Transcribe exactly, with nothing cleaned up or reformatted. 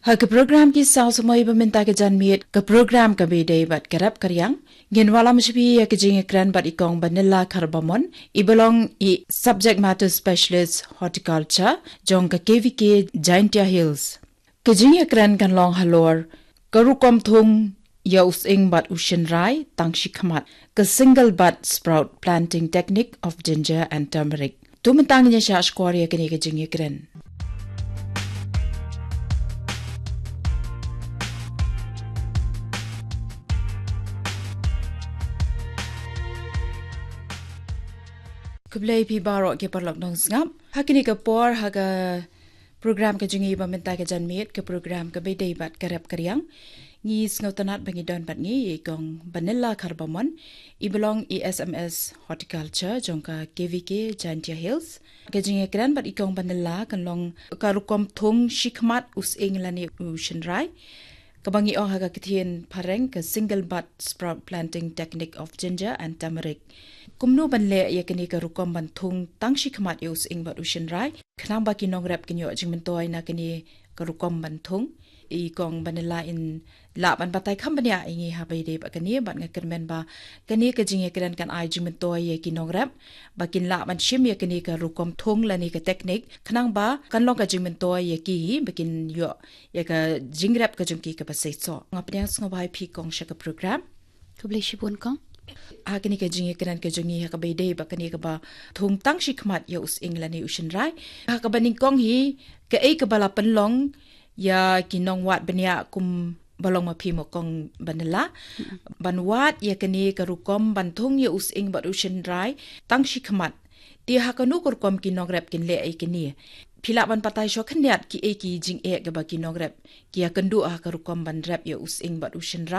Ha ka program Ki Saw Samoi ba mynta ka janmiet, ka program kaba ïadei bad ka rep ka riang, ngin wallam shuwa ïa ka jingïakren bad i Kong Vanilla Kharbamon, i ba long i Subject Matter Specialist Horticulture jong ka K V K Jaintia Hills. Ka jingïakren kan long halor ka rukom thung ïa u sying bad u shynrai tang shi khmat, ka single bud sprout planting technique of ginger and turmeric. To mynta ngin ïa shah shkor ïa kane ka jingïakren. Khublei phi baroh ki paralok nongsngap. Ha kane ka por, ha ka program ka jong ngi ba mynta ka janmiet, ka program kaba ïadei bad ka rep ka riang, ngi sngewtynnat ba ngi don bad ngi i Kong Vanilla Kharbamon, i ba long i S M S Horticulture jong ka K V K Jaintia Hills. Ka jingïakren bad i Kong Vanilla kan long ka rukom thung shi khmat u sying lane u shynrai, kaba ngi ong ha ka ktien phareng ka single bud sprout planting technique of ginger and turmeric. Kumno ban leh ïa kane ka rukom ban thung tang shi khmat ïa u sying bad u shynrai, khnang ba ki nongrep kin ïoh jingmyntoi na kane ka rukom ban thung. I Kong Vanilla in lah ban batai kham bniah ïa ngi ha ba ïadei bad kane, bad nga kyrmen ba kane ka jingïakren kan ai jingmyntoi ïa ki nongrep ba kin lah ban shim ïa kane ka rukom thung lane ka teknik, khnang ba kan long ka jingmyntoi ïa ki hi ba kin ïoh ïa ka jingrep ka jong ki kaba seisoh. Nga pdiang sngewbha ïa phi Kong sha ka program. Khublei shibun Kong. Ha kane ka jingïakren ka jong ngi ha kaba ïadei bad kane kaba thung tang shi khmat ïa u sying lane u shynrai, ha kaba nyngkong hi, kaei kaba la pynlong ïa ki nongwad bniah kum ba long ma phi mo Kong Vanilla ban wad ïa kane ka rukom ban thung ïa u sying bad u shynrai tang shi khmat? Te ha kano ka rukom ki nongrep kin leh ïa kane? Phi lah ban batai shuwa khyndiat kiei ki jingeh kaba ki nongrep ki ïakynduh ha ka rukom ban rep ïa u sying bad u shynrai?